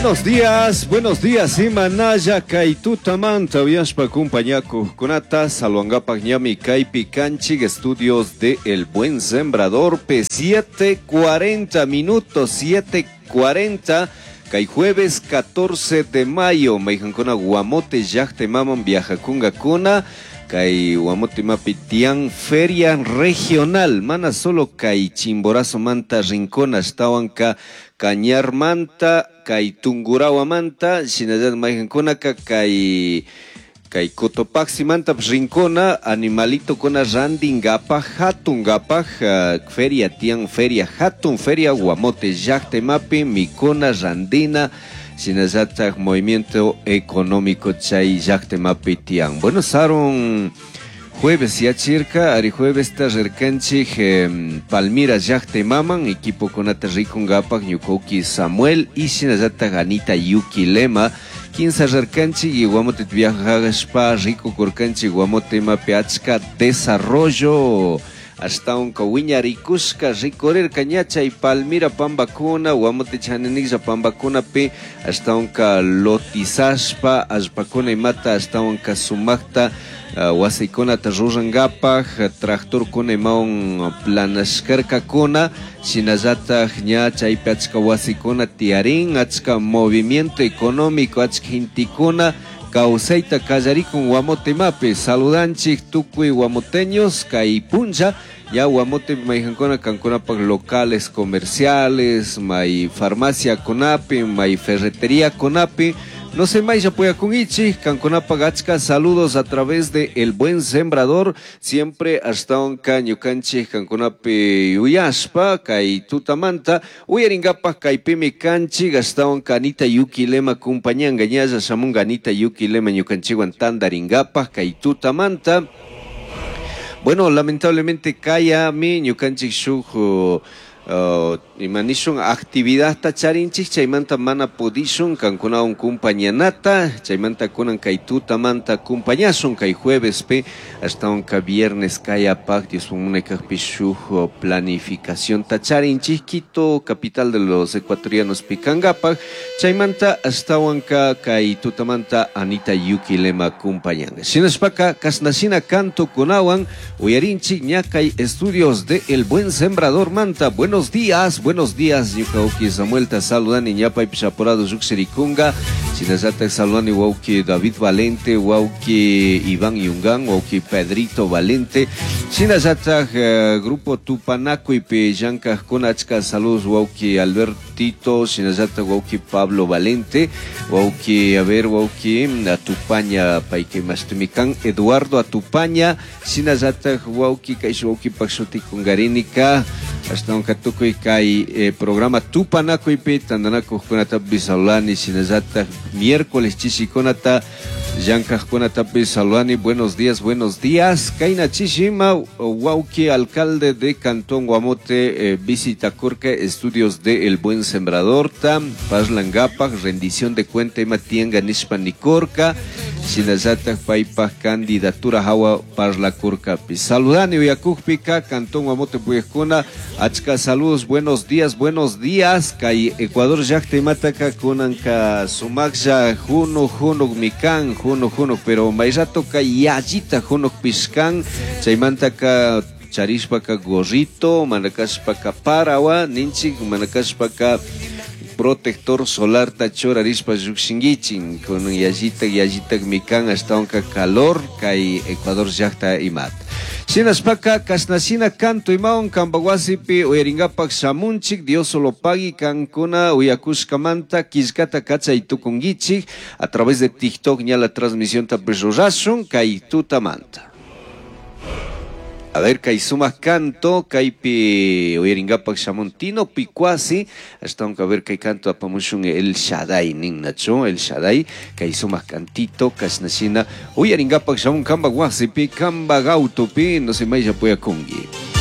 Buenos días, buenos días, imanalla kay tutamanta uyashpa kumpañakuqkunata saludangapak ñami kaypi kanchik estudios de El Buen Sembrador P 7:40 minutos, 7:40 kay jueves 14 de mayo mayqankuna Guamote llaqtaymaman viajakunkakuna kay Guamote imapi tiyan feria regional mana solo kay Chimborazomanta rinkuna ashtawanka Cañarmanta kay Tungurawamanta shinallatak mayqankunaka kay kay Cotopaximantapish rinkuna animalitokuna rantinkapak hatunkapak feria tiyan feria hatun feria Guamote llaqta imapi mikuna rantina shinallatak movimiento económico chay llaqta imapi tiyan. Bueno, sarun jueves yachirka, ari juevesta rirkanchik Palmira llaqta imaman equipokunata rikunkapak ñuka Samuel y shinallatak Anita Yuki Lema kinsa rirkanchik y Guamote viajashpa rikukurkanchik Guamote imapi achka desarrollo ashtawanka wiñarikushka rikurirka ña chay Palmira pampakuna Guamote chaniniklla pampakunapi ashtawanka lotizashpa allpakuna imata ashtawanka sumakta wasikunata rurankapak tractorkuna imawan planashkarkakuna shinallatak ña chaypi achka wasikuna tiyarin achka movimiento económico achka gentekuna kawsayta kallarikun Guamote imapi. Saludanchik tukuy guamoteños kay punlla ya Guamote mayqankuna kankunapak locales comerciales may farmacia kunapi may ferretería kunapi no sé maylla puyakunkichik kankunapak achka saludos a través de El Buen Sembrador siempre ashtawanka ñukanchik kankunapi yuyashpa kay tutamanta uyarinkapak kaypimi kanchik ashtawanka Anita Yuki Lema kumpañanka ñalla shamunka Anita Yuki Lema ñukanchikwan tantarinkapak kay tutamanta. Bueno, lamentablemente kayami ñukanchik shuk ima nishun actividadta charinchik chaymanta mana pudishun kankunawan kumpañanata chaymanta kunan kay tutamanta kumpañashun kay juevespi ashtawanka viernes kayapak Dios munay kajpi shuk planificacionta charinchik Quito capital de los ecuatorianos pikankapak chaymanta ashtawanka kay tutamanta Anita Yuki Lema kumpañanka shinashpaka kashnashina cantokunawan uyarinchik ña kay estudios de El Buen Sembrador manta. Buenos días, buenos días, ñuka wawki Samuelta saludani ñapaypish apurado lluqshirikunka shinallatak saludani wawki David Valente, wawki Iván Yungán, wawki Pedrito Valente, shinallatak grupo Tupanakuypi llankajkuna achka saludos wawki Albertito, shinallatak wawki Pablo Valente, wawki, a ver, wawki Atupaña payka imashtimi kan Eduardo Atupaña, shinallatak wawki kaysh wawkipak shutikunkarinika ashtawanka tukuy kay programa Tupanakuypi tantanakuqkunatapish saludani shinallatak miércoles chishikunata llankajkunatapish saludani. Buenos días, buenos días. Kayna chishima wawki alcalde de Cantón Guamote visita kurka estudios de El Buen Sembrador tam parlangapak rendición de cuenta ima tianga nishpa nikurka shinallatak paypak candidatura hawa parlakurkapi. Saludani uyakukpika Cantón Guamote puyajkuna achka saludos, buenos días, buenos días. Kay Ecuador llaqta imataka kunanka sumaklla junuk junuk mikan junuk junuk pero may ratoka yallita junuk pishkan chaymantaka charishpaka gorrito manakashpaka parawa ninchik manakashpaka protector solarta churarishpa llukshinkichik kunan yallitak yallitak mikan ashtawanka calor kay Ecuador llaqta imata. Shinashpaka kashnashina canto imawan kampak wasipi uyarinkapak shamunchik Dios solo pagui kankuna uyakushkamanta killkata kachay tukunkichik a través de TikTok ña la transmisión tapish rurashun kay tutamanta. A ver, kay sumak canto, kaypi uyarinkapak shamun Tino Picuasi, ashtawanka a ver kay canto apamushun El Shaddai ninnachu, El Shaddai, kay sumak cantito, kashnashina, uyarinkapak shamun kampak wasipi, kampak autopi, no sé maylla puyakunki.